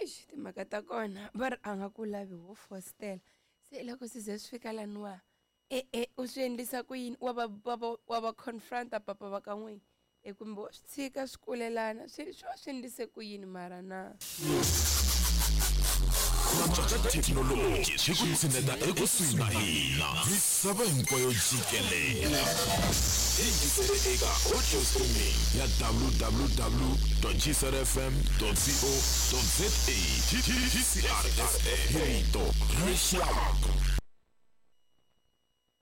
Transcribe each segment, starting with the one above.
Eish, timhaka ta kona va ri a nga ku lavi wo fostela se loko swi ze swi fika laniwa e-e u swi endlisa ku yini wa va wa va wa va confronta papa va ka n'wina e kumbe wa swi tshika swi kulelana swi swi va swi endlise ku yini mara na Antswa ka thekinoloji swi ku tshineta ekusuhi na hina misava hinkwayo jikelele. Yingisele eka audio streaming ya www.gcrfm.co.za GCRFM hi rito ra rixaka.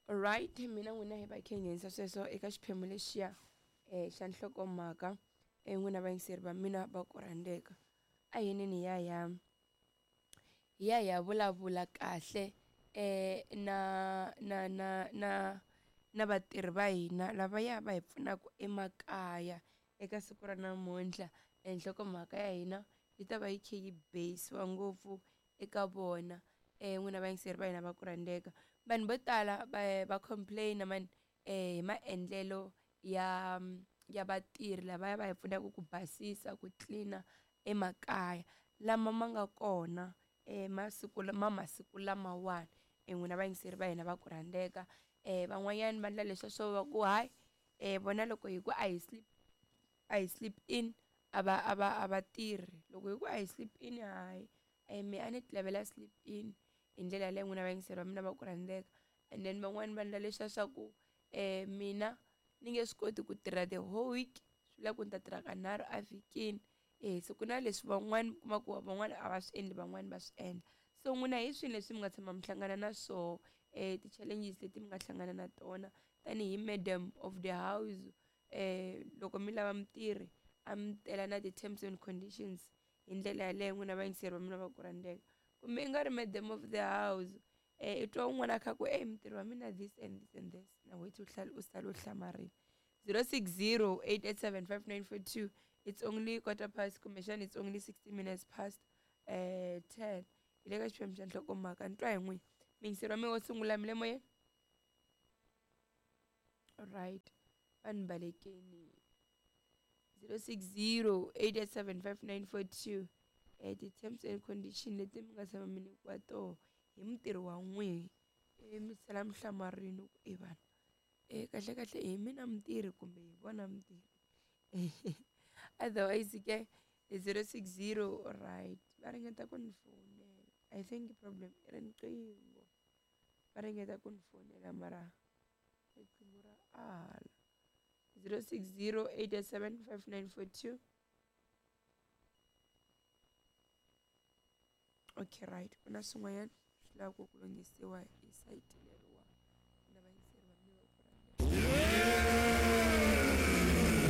Right mina n'wina hi va khe hi nghenisa sweswo eka xiphemu lexiya um xa nhlokomhaka um n'wina vayingiseri va mina va ku rhandzeka a hi yinini hi ya hi ya hi ya hi ya vulavula kahle um na na na na na vatirhi va hina lavaya va hi pfunaka emakaya eka siku ra namuntlha nhlokomhaka ya hina yi ta va yi kha yi base-iwa ngopfu eka vona n'wina vayingiseri va hina va ku rhandzeka vanhu vo tala va va complain mani hi maendlelo ya ya vatirhi lavaya va hi pfunaka ku basisa ku clean-a emakaya lama ma nga kona masiku ma masiku lamawani n'wina vayingiseri va hina va ku rhandzeka van'wanyana va endla leswiya swo va ku hayi vona loko hi ku a hi sleep a hi sleep in a va a va a va tirhi loko hi ku a hi sleep in hayi me a ni ti lavela sleep in hi ndlela yaleyo n'wina vayingiseri va mina va ku rhandzeka and then van'wani va endla leswiya swa ku mina ni nge swi koti ku tirha the whole week swi vula ku ni ta tirha kanharhu a vhikini e se ku na leswi van'wani mi kuma ku van'wani a va swi endli van'wani va swi endla so n'wina hi swini leswi mi nga tshama mi hlangana na swoho ti-challenges leti mi nga hlangana na tona tanihi madam of the house loko mi lava mutirhi a mi tela na ti-terms and conditions hi ndlela yaleyo n'wina vayingiseri va mina va ku rhandzeka kumbe i nga ri madam of the house i twa un'wana a kha ku ey mutirhi wa mina this and this and this na wethu u sala u hlamarile 060 887 5942 it's only quarter past kumbexana it's only 60 minutes past 10 hi le ka xiphemu xa nhlokomhaka ni twa hi n'wina miyingiseri wa mina wo sungula mi le moyeni right vanhu balekeni 060 887 5942 ti-terms and condition leti mi nga tshama mi nyikiwa toho hi mutirhi wa n'wihi mi sala mi hlamarini ku e vanhu kahle kahle hi mina mutirhi kumbe hi vona mutirhi otherwise ke hi 060 right va ringeta ku ni fowunela I think problem i riqingho va ringeta ku ni fonela mara riqingho ra ala 060 887 5942 okay right ku na swin'wanyana swi lavaka ku lunghisiwa hi sayiti leriwa na vayingiseri va mina va ku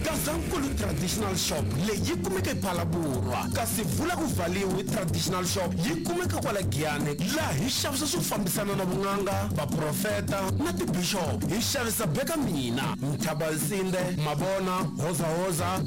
Gazankulu Traditional Shop leyi yi kumeka ePhalaborwa kasi vula ku valiwi Traditional Shop yi kumeka kwala Giyani laha hi xavisa swo fambisana na vun'anga vaprofeta na tibishop hi xavisa beka mina Mthabansinde mabona hozahoza.